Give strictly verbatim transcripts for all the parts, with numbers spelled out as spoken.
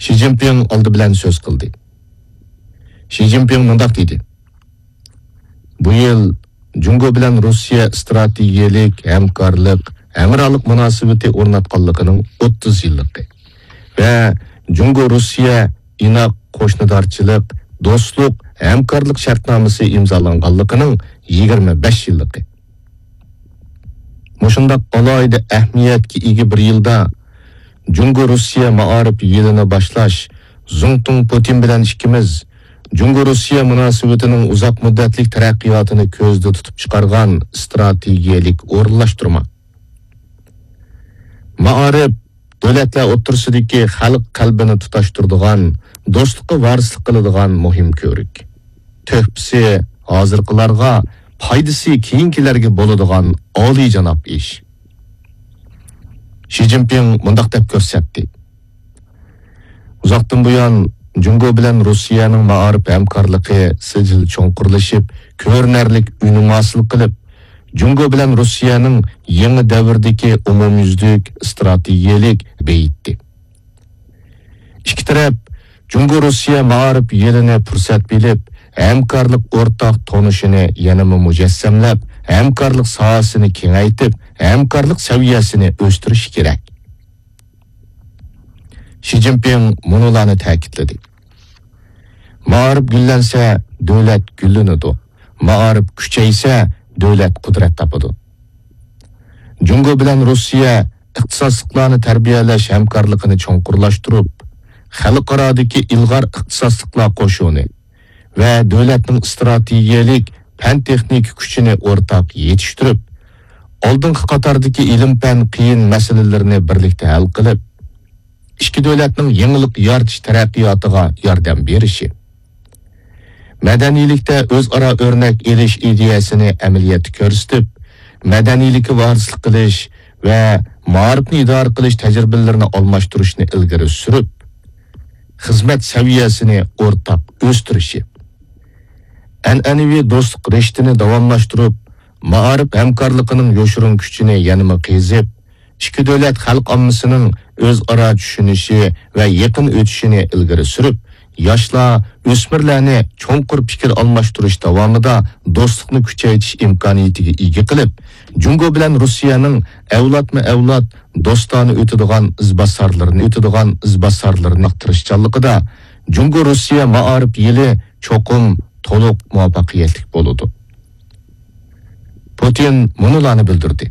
شى جىنپىڭ ئالدى بىلەن سۆز قىلدى. شى جىنپىڭ مۇنداق دېدى: بۇ يىل جۇڭگو بىلەن روسىيە ئىستراتېگىيەلىك ھەمكارلىق، ھەمراھلىق مۇناسىۋىتى ئورناتقانلىقىنىڭ ئوتتۇز يىللىقى ۋە جۇڭگو روسىيە ئىناق قوشنىدارچىلىق، دوستلۇق، ھەمكارلىق شەرتنامىسى ئىمزالانغانلىقىنىڭ يىگىرمە بەش يىللىقى. مۇشۇنداق ئالاھىدە ئەھمىيەتكە ئىگە بىر يىلدا جۇڭگو روسىيە مائارىپ يىلىنى باشلاش، زۇڭتۇڭ پۇتىن بىلەن ئىككىمىز جۇڭگو روسىيە مۇناسىۋىتىنىڭ ئۇزاق مۇددەتلىك تەرەققىياتىنى كۆزدە تۇتۇپ چىقارغان ئىستراتېگىيەلىك ئورۇنلاشتۇرما. مائارىپ دۆلەتلەر ئوتتۇرىسىدىكى خەلق قەلبىنى تۇتاشتۇرىدىغان، دوستلۇققا ۋارىسلىق قىلىدىغان مۇھىم كۆۋرۈك. تۆھپىسى ھازىرقىلارغا، پايدىسى كېيىنكىلەرگە بولىدىغان ئالىيجاناب ئىش. شى جىنپىڭ مۇنداق دەپ كۆرسەتتى: ئۇزاقتىن بۇيان جۇڭگو بىلەن روسىيەنىڭ مائارىپ ھەمكارلىقى سىجىل چوڭقۇرلىشىپ، كۆرۈنەرلىك ئۈنۈم ھاسىل قىلىپ، جۇڭگو بىلەن روسىيەنىڭ يېڭى دەۋردىكى ئومۇميۈزلۈك ئىستراتېگىيەلىك بېيىتتى. ئىككى تەرەپ جۇڭگو روسىيە مائارىپ يىلىنى پۇرسەت بىلىپ، ھەمكارلىق ئورتاق تونۇشىنى يەنىمۇ مۇجەسسەملەپ، ھەمكارلىق ساھەسىنى كېڭەيتىپ، ھەمكارلىق سەۋىيەسىنى ئۆستۈرۈشى كېرەك. شى جىنپىڭ مۇنۇلارنى تەكىتلىدى: مائارىپ گۈللەنسە، دۆلەت گۈللىنىدۇ. مائارىپ كۈچەيسە، دۆلەت قۇدرەت تاپىدۇ. جۇڭگو بىلەن روسىيە ئىختىساسلىقلارنى تەربىيەلەش ھەمكارلىقىنى چوڭقۇرلاشتۇرۇپ، خەلقئارادىكى ئىلغار ئىختىساسلىقلار قوشۇنى ۋە دۆلەتنىڭ ئىستراتېگىيەلىك پەن-تېخنىكا كۈچىنى ئورتاق يېتىشتۈرۈپ، ئالدىنقى قاتاردىكى ئىلىم-پەن قىيىن مەسىلىلىرىنى بىرلىكتە ھەل قىلىپ، ئىككى دۆلەتنىڭ يېڭىلىق يارىتىش تەرەققىياتىغا ياردەم بېرىشى، مەدەنىيلىكتە ئۆزئارا ئۆرنەك ئېلىش ئىدىيەسىنى ئەمەلىيەتتە كۆرسىتىپ، مەدەنىيلىككە ۋارىسلىق قىلىش ۋە مائارىپنى ئىدارە قىلىش تەجرىبىلىرىنى ئالماشتۇرۇشنى ئىلگىرى سۈرۈپ، خىزمەت سەۋىيەسىنى ئورتاق ئۆستۈرۈشى، ئەنئەنىۋى دوستلۇق رىشتىنى داۋاملاشتۇرۇپ، مائارىپ ھەمكارلىقىنىڭ يوشۇرۇن كۈچىنى يەنىمۇ قېزىپ، ئىككى دۆلەت خەلق ئاممىسىنىڭ ئۆزئارا چۈشىنىشى ۋە يېقىن ئۆتۈشىنى ئىلگىرى سۈرۈپ، ياشلار، ئۆسمۈرلەرنى چوڭقۇر پىكىر ئالماشتۇرۇش داۋامىدا دوستلۇقنى كۈچەيتىش ئىمكانىيىتىگە ئىگە قىلىپ، جۇڭگو بىلەن روسىيەنىڭ ئەۋلادمۇ ئەۋلاد دوستانە ئۆتىدىغان ئىزباسارلىرىنى، ئۆتىدىغان ئىزباسارلىرىنى تىرىشچانلىقىدا جۇڭگو روسىيە مائارىپ يىلى چوقۇم تولۇق مۇۋەپپەقىيەتلىك بولىدۇ. پۇتىن مۇنۇلارنى بىلدۈردى: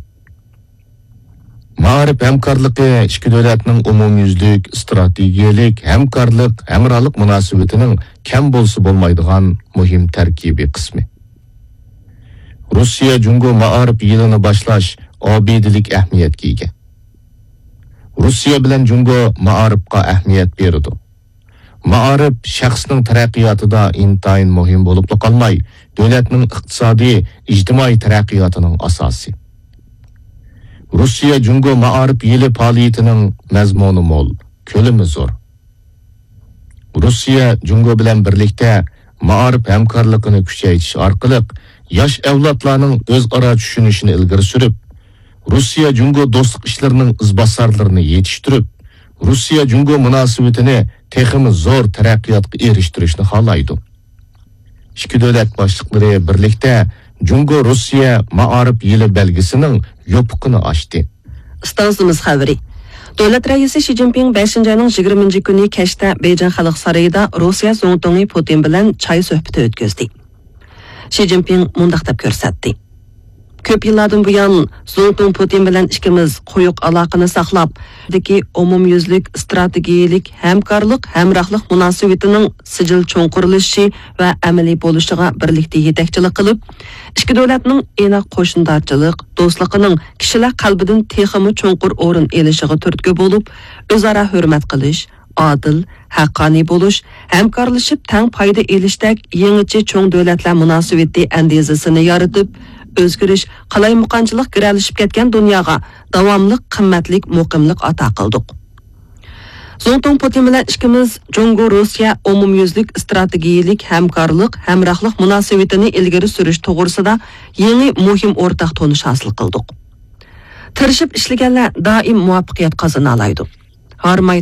مائارىپ ھەمكارلىقى ئىككى دۆلەتنىڭ ئومۇميۈزلۈك ئىستراتېگىيەلىك ھەمكارلىق، ھەمراھلىق مۇناسىۋىتىنىڭ كەم بولسا بولمايدىغان مۇھىم تەركىبىي قىسمى. روسىيە جۇڭگو مائارىپ يىلىنى باشلاش ئابىدىلىك ئەھمىيەتكە ئىگە. روسىيە بىلەن جۇڭگو مائارىپقا ئەھمىيەت بېرىدۇ. مائارىپ شەخسنىڭ تەرەققىياتىدا ئىنتايىن مۇھىم بولۇپلا قالماي، دۆلەتنىڭ ئىقتىسادىي، ئىجتىمائىي تەرەققىياتىنىڭ ئاساسى. روسىيە جۇڭگو مائارىپ يىلى پائالىيىتىنىڭ مەزمۇنى مول، كۆلىمى زور. روسىيە جۇڭگو بىلەن بىرلىكتە مائارىپ ھەمكارلىقىنى كۈچەيتىش ئارقىلىق ياش ئەۋلادلارنىڭ ئۆزئارا چۈشىنىشىنى ئىلگىرى سۈرۈپ، روسىيە جۇڭگو دوستلۇق ئىشلىرىنىڭ ئىزباسارلىرىنى يېتىشتۈرۈپ، روسىيە جۇڭگو مۇناسىۋىتىنى تېخىمۇ زور تەرەققىياتقا ئېرىشتۈرۈشنى خالايدۇ. ئىككى دۆلەت باشلىقلىرى بىرلىكتە جۇڭگو روسىيە مائارىپ يىلى بەلگىسىنىڭ يوپۇقىنى ئاچتى. ئىستانسىمىز خەۋىرى. دۆلەت رەئىسى شى جىنپىڭ بەشىنچى ئاينىڭ يىگىرمىنچى كۈنى كەچتە بېيجىڭ خەلق سارىيىدا روسىيە زۇڭتۇڭى پۇتىن بىلەن چاي سۆھبىتى ئۆتكۈزدى. شى جىنپىڭ مۇنداق دەپ كۆرسەتتى: كۆپ يىللاردىن بۇيان زۇڭتۇڭ پۇتىن بىلەن ئىككىمىز قويۇق ئالاقىنى ساقلاپ، دىكى ئومۇميۈزلۈك ئىستراتېگىيەلىك ھەمكارلىق، ھەمراھلىق مۇناسىۋىتىنىڭ سىجىل چوڭقۇرلىشىشى ۋە ئەمەلىي بولۇشىغا بىرلىكتە يېتەكچىلىك قىلىپ، ئىككى دۆلەتنىڭ ئىناق قوشنىدارچىلىق دوستلۇقىنىڭ كىشىلەر قەلبىدىن تېخىمۇ چوڭقۇر ئورۇن ئېلىشىغا تۈرتكە بولۇپ، ئۆزئارا ھۆرمەت قىلىش، ئادىل، ھەققانىي بولۇش، ھەمكارلىشىپ تەڭ پايدا ئېلىشتەك يېڭىچە چوڭ دۆلەتلەر مۇناسىۋىتى ئەندىزىسىنى يارىتىپ، ئۆزگىرىش، قالايمىقانچىلىق گىرەلىشىپ كەتكەن دۇنياغا داۋاملىق قىممەتلىك مۇقىملىق ئاتا قىلدۇق. زۇڭتۇڭ پۇتىن بىلەن ئىككىمىز جۇڭگو روسىيە ئومۇميۈزلۈك ئىستراتېگىيەلىك ھەمكارلىق، ھەمراھلىق مۇناسىۋىتىنى ئىلگىرى سۈرۈش توغرىسىدا يېڭى مۇھىم ئورتاق تونۇش ھاسىل قىلدۇق. تىرىشىپ ئىشلىگەنلەر دائىم مۇۋەپپەقىيەت قازىنالايدۇ. ھارماي تالماي